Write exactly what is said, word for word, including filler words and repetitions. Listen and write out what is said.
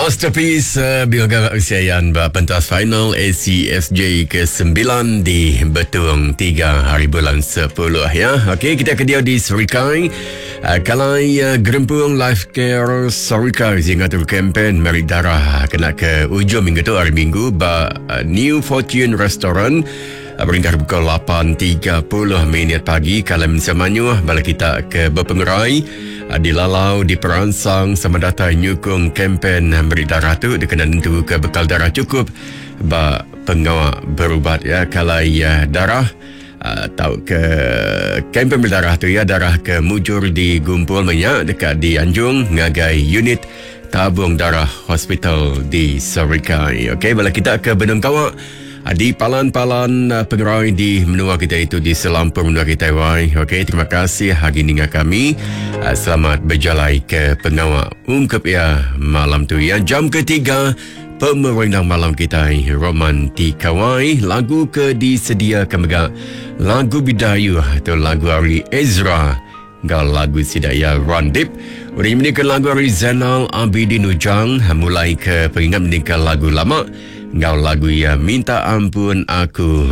Masterpiece uh, Bilga Usiayan ba pentas final A C S J kesembilan di Betong tiga hari bulan sepuluh ya. Okey, kita ke dia di Serikai. Uh, kalai uh, Gerempung Life Care Serikai sehingga tu kempen meri darah kena ke ujung minggu tu, hari Minggu, ba uh, New Fortune Restaurant berengkah pukul lapan tiga puluh minit pagi. Kalau semanyuh bala kita ke berpengerai dilalau, diperansang sama datai nyukung kempen beri darah tu dikena nentu ke bekal darah cukup ba pengawal berubat ya. Kalau ya darah uh, tau ke kempen berdarah tu ya, darah ke mujur digumpul minyak dekat di Anjung ngagai unit tabung darah hospital di Serikai. Okey, bala kita ke Benung Kawak di palan-palan uh, pengerai di menua kita itu, di selampur menua kita wai. Okey, terima kasih hari ini dengan kami. Uh, selamat berjalan ke pengawal ungkap ya malam tu ya. Jam ketiga pemerindang malam kita Romantika wai, lagu ke disediakan mega lagu Bidayu atau lagu Ari Ezra Gal lagu Sidaya Randip. Udah menikah lagu Ari Zainal Abidin Ujang, mulai ke pengingat menikah lagu lama ngau lagu ya Minta Ampun Aku.